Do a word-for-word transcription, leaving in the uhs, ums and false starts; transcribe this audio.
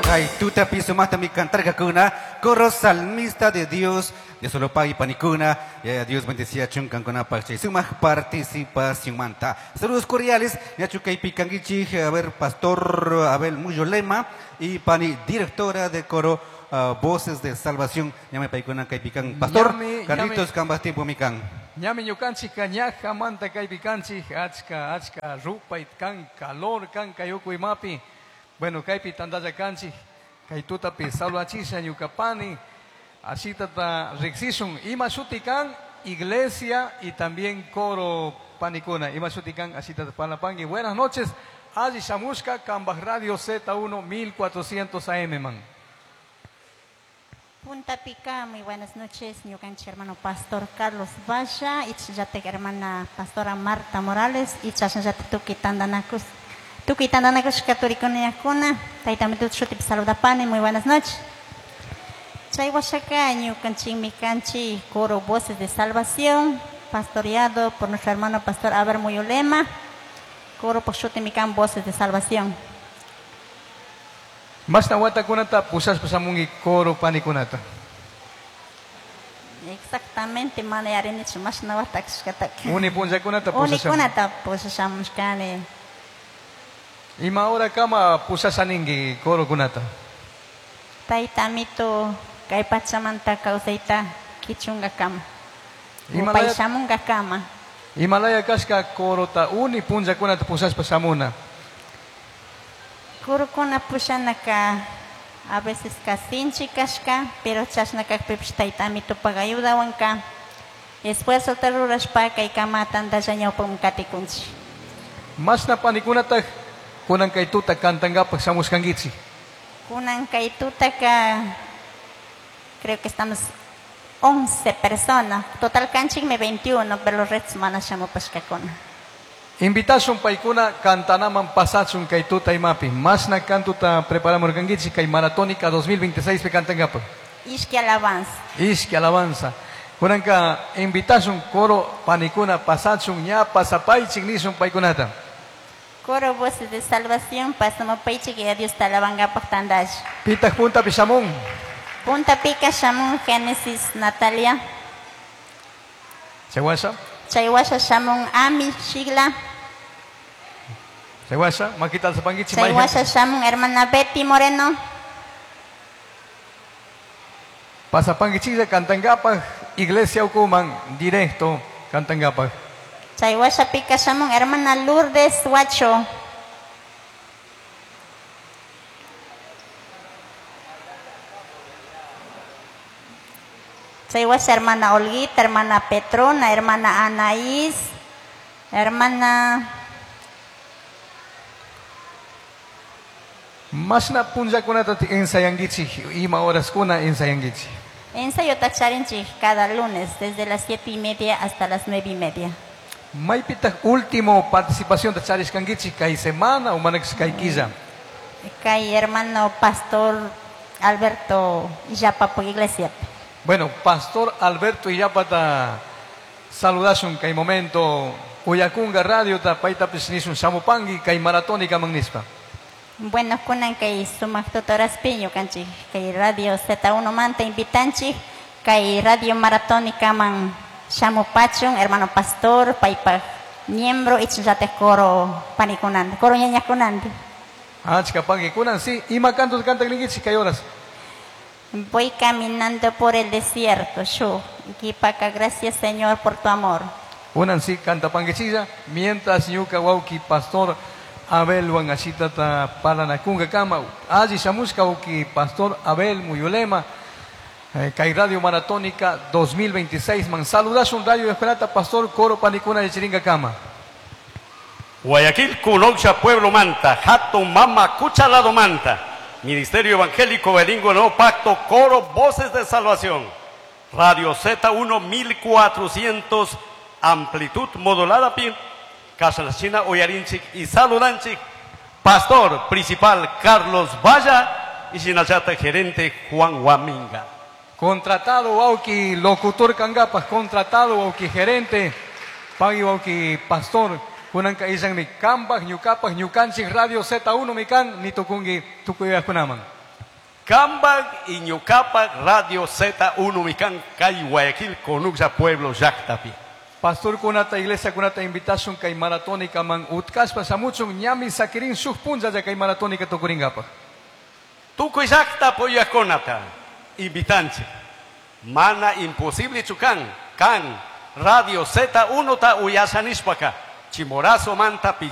Kay tutapi sumaqtami cantarqakuna, coro salmista de Dios, de Solopay panikuna, ya Dios bendecía chunkankunapaq chay sumaq participación manta. Saludos cordiales, ñachu kaypi kankichik, a ver, Pastor Abel Muyolema y pani directora de coro uh, Voces de Salvación, ñami paykuna kaypi kan. Pastor Ñami, Carlitos ñami. Kambas tiempo mikan. Ñami ñukanchik ñajamanta kaypi kanchik, achka, achka, rupay kan, calor kan, kay uku imapi. Bueno, kaypi tantalla kanchik, kay tutapi salvachisha ñuka pani, asitata riqsishun, ima shuti kan, iglesia y también coro panikuna, ima shuti kan, asitata parlapangui. Buenas noches, alli shamushka, Kambaj Radio Z uno mil cuatrocientos A M man. Punta Pica, muy buenas noches, ñukanchik hermano Pastor Carlos Valla, y chatek hermana Pastora Marta Morales, y chashnallata tukuy tantanakus, tukuy tantanakushka turikuna, tayta mitut shutipi saludapani, muy buenas noches. Chay washaka, ñukanchikmi kanchik, coro Voces de Salvación, pastoreado por nuestro hermano Pastor Abel Muyolema, coro por shutimi kan Voces de Salvación. Mashna watakunata pushashpa shamunki coro panikunata. Exactamente, mana yarinichu mashna watakashkataka. Uni punllakunata pushashamun. Unikunata pushashamushkani. Ima hora kama pushashaninki corokunata. Tayta amito kay pachamanta kawsayta kichungakama. Himalaya Upay shamunkakama. Himalaya kashka corota uni punllakunata pushashpa shamuna. Corokuna pushanaka a veces kasinchi kashka, pero chashna kakpipish tayta amitopak ayudawanka. Esfuerzo ta rurashpa kay kama tantalla ñawpaman katikunchik. Mashna panikunata kunan kay tuta kantankapak shamushkankichik. Kunan kay tutaka creo que estamos once personas. Total kanchikmi veintiuno, pero los restos mana shamupashkakuna. Invitashun paykuna kantanaman pasachun kay tuta imapi. Mashna kantuta preparamurkankichik kay Maratónica dos mil veintiséis pi kantankapak. Ishki alabanza. Ishki alabanza. Kunanka invitashun coro panikuna pasachun ña pasapaychik nishun paykunata. Coro Voces de Salvación, pasamupaychik y a Dios talabangapak tandash. Pitaq punta pi shamun. Punta pika shamun Génesis Natalia. Chaywasha. Chaywasha shamun Ami Shigla. Chaywasha, makita alzapanguichi, Chaywasha shamun hermana Betty Moreno. Pasapanguichilla cantangapaj, Iglesia Ucuman, directo cantangapaj. Chaywasha pika shamun hermana Lourdes Huacho. Chaywasha hermana Olguita, hermana Petrona, hermana Anaís, hermana Mashna punllakunata ensayanguichi, ima horaskuna ensayanguichi. Ensayo tacharinchik cada lunes desde las siete y media hasta las nueve y media. Maypitaq último participación tacharishkankichik kay semana o manakis kay killa. Kay hermano Pastor Alberto Illapa iglesia. Bueno, Pastor Alberto Illapata saludashun kay momento Uyakunga radio ta paytapis nishun shamupangi kay maratónica man nispa. Bueno, kunan kay sumaq tutoraspi ñukanchik kay radio Z uno manta invitanchik kay radio maratónica man shamupachun hermano pastor paypaq miembro ichinllataj coro panikunanta, coro ñañakunanta. Achka pangi kunan sí, ima cantos cantan ninkichik kay horas. Voy caminando por el desierto, yo, Kipaka, gracias Señor por tu amor. Kunan sí canta panguichilla, mientras ñuka wauki pastor Abel Wangasitata Paranakunga kama, alli shamushka wauki pastor Abel Muyulema, eh, kay Radio Maratónica dos mil veintiséis, man saludashun Radio Escuelata, pastor coro panikuna de Chiringa kama. Guayaquil, Culocha, Pueblo Manta, Jato, Mama, Cuchalado Manta, Ministerio Evangélico Bilingüe Nuevo Pacto, Coro, Voces de Salvación, Radio Z uno mil cuatrocientos, amplitud modulada, pi, Casa La China, Oyarinchik y Saludanchik, Pastor Principal Carlos Valla y Sinachata Gerente Juan Guaminga. Contratado wauki locutor kangapas, contratado wauki gerente, pagui wauki pastor, kunanka isan mi kambaj, ñukapas, ñukanchik Radio Z uno mi kan, ni tukungi tukuyakunaman. Cambaj y ñucapaj Radio Z uno mi kan kay Guayaquil Conucsa Pueblo llaktapi. Pastor kunata iglesia kunata invitashun kay maratonika man utkashpa shamuchun ñami sakirin shuk punchalla kay maratonika tukuringapaj. Tukuy llakta apoyakunata invitanchik. Mana imposible kan kan Radio Z uno ta uyasha nishpaka Chimborazo manta Pichi